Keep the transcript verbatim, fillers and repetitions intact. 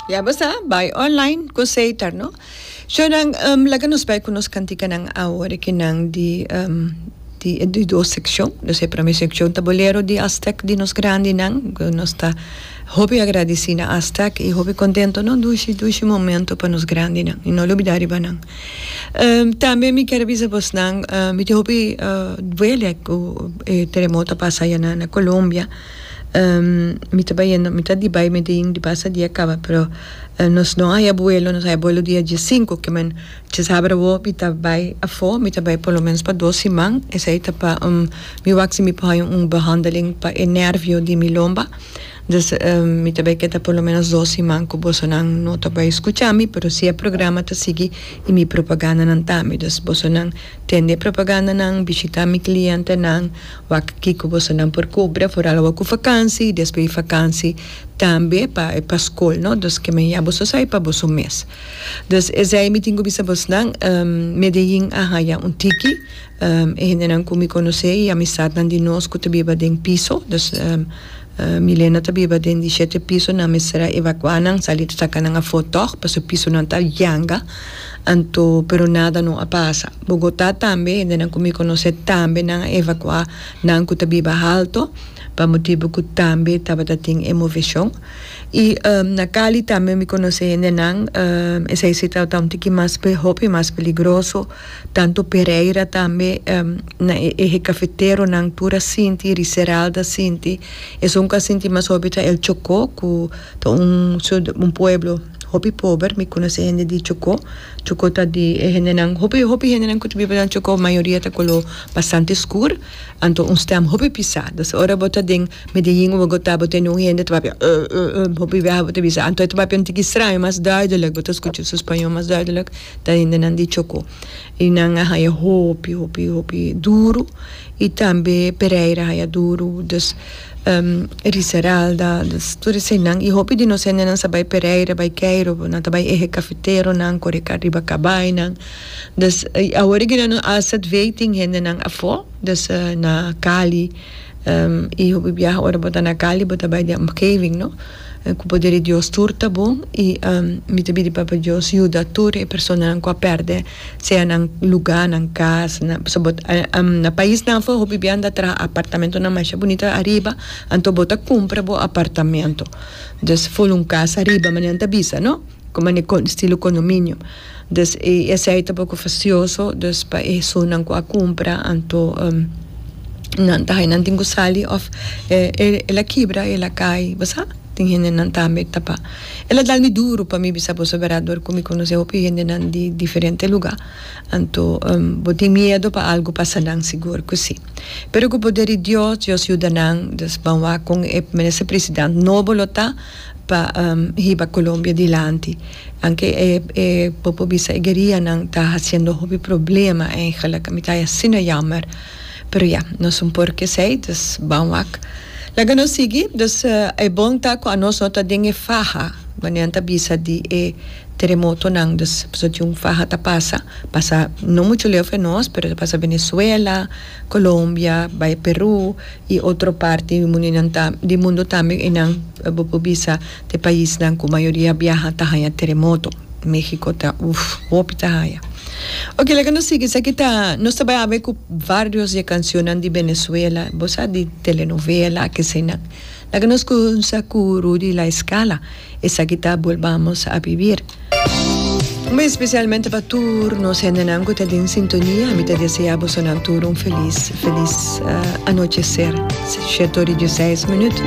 Ya bo sa, bai online ku Setar, no? Shonan, um, laga nos bai ku nos kantikanan awor akinan di um, di di dos sekshon. Dus e promé sekshon ta bolero di Aztec di nos grandinan, ku nos ta hopi agradesí na Aztec i hopi kontentu, no? Dushi, dushi momento pa nos grandinan. I no lubidá riba nan. Um, tambe mi ke bisa bosnan, uh, mi tin hopi uh, duele ku e teremoto a pasa aya na, na Colombia. Um, mi ta bayendo, mi ta di bai Medellín di pasa dia kaba, pero uh, nos no haya vuelo, nos haya vuelo dia diesinku, ke men djasabra awo mi ta bai afó, mi ta bai por lo menos pa dos siman, esei ta pa um, mi wak si mi por haya un behandeling pa e nervio di mi lomba. Dus um, mi ta bai keda por lo menos dos siman ku bosonan no ta bai skucha mi, pero si e programa ta sigui i mi propagandanan tambe. Dus bosonan tende propagandanan, bishitá mi klientenan, wak kiko bosonan por kumpra, vooral awor ku vakansi, despues di vakansi tambe pa pa skol, no? Dus ke men ya boso sa pa boso mes. Dus esei mi tin ku bisa bosnan, um, Medellín a haya un tiki, um, e hendenan ku mi konosé i amistatnan di nos ku ta biba den piso, dus um, uh, Milena ta biba den di shete piso, nan mester a evakuá nan, sali saka nan afó tòg, pasobra pisonan ta yanga, anto pero nada no a pasa. Bogotá tambe, hendenan ku mi konosé tambe nan a evakuá nan ku ta biba haltu, pa motibu ku tambe tabata tin e moveshon. I um, na Cali tambe mi konosé hendenan, um, esei si tabata un tiki mas pe hopi mas peligroso, tantu Pereira tambe, um, na e eje cafeteronan tur a sinti, Risaralda a sinti, esun ku a sinti mas hopi ta El Chocó, ku ta un un pueblo hopi pober, mi konosé hende di Chocó. Chocó ta di e hendenan, hopi hopi hendenan ku ta biba na Chocó, mayoria ta koló bastante skur, anto un stèm hopi pisá. Dus ora bo ta den Medellín o Bogotá, bo tende un hende ta papia uh, uh, uh, hopi biaha bo ta bisa, anto e ta papia un tiki straño, mas duidelijk, bo ta skucha su spañó mas duidelijk, ta hendenan di Chocó. I nan a haya hopi, hopi, hopi duru, i tambe Pereira a haya duru, dus um, Risaralda, dus tur eseinan. I hopi di nos hendenan sa bai Pereira, bai Cairo, nan ta bai eje cafeteronan, kore riba kabainan. Dus awor aki nan A Z V tin hendenan afó, dus uh, na Cali, um, i hopi biaha ora bo ta na Cali, bo ta bai den omgeving, no? Ku poder di Dios tur ta bon i um, mi ta pidi Papa Dios yuda tur e personanan ku a pèrdè sea nan lugá, nan kas, na, so bot, um, na paisnan afó hopi biaha nan ta traha apartamentonan masha bunita ariba, anto bo ta kumpra bo apartamento. Dus full un kas ariba, manera nan ta bisa, no? Komo estilo condominio. Dus e esei ta poko fastioso, dus pa esunnan ku a kumpra, anto um, nan ta nan tin ku sali òf eh, el a kibra, el a kai, bo sa? Tin hendenan tambe tapa. El a dal mi duru pa mi bisa boso bèrdat dor ku mi konosé hopi hendenan di diferente lugá. Anto um, bo tin miedu pa algu pasa nan, sigur ku si. Pero ku poder di Dios, Dios yuda nan, dus ban wak kon e minister presidente nobo lo ta pa um, hiba Colombia dilanti. Aunke e, e bo por bisa e guerianan ta hasiendo hopi problema eigenlijk. Mi ta asina jammer. Pero ja, nos no por ke esei, dus ban wak. Laga nos sigui, dus uh, e bon ta ku anos no ta den e faha, manera nan ta bisa di e teremotonan, dus so tin un faha ta pasa, pasa no muchu leu for nos, pero ta pasa Venezuela, Colombia, bai Peru i otro parti di mundu ta, di mundu tambe einan bo por bisa te paisnan ku mayoria biaha ta haña teremoto. México ta, uf, hopi ta haña. Ok, laga nos sigui, esaki ta, nos ta bai ku varios di kanshon di Venezuela, bo sa di telenovela, ke sea. Laga nos kuminsá ku Rudy La Escala, esaki ta Volvamos a Vivir. Muy espesialmente pa tur nos hendenan ku ta den sintonia, mi ta deseá bosonan tur un felis, felis uh, anocheser. shete or i diesseis minüt.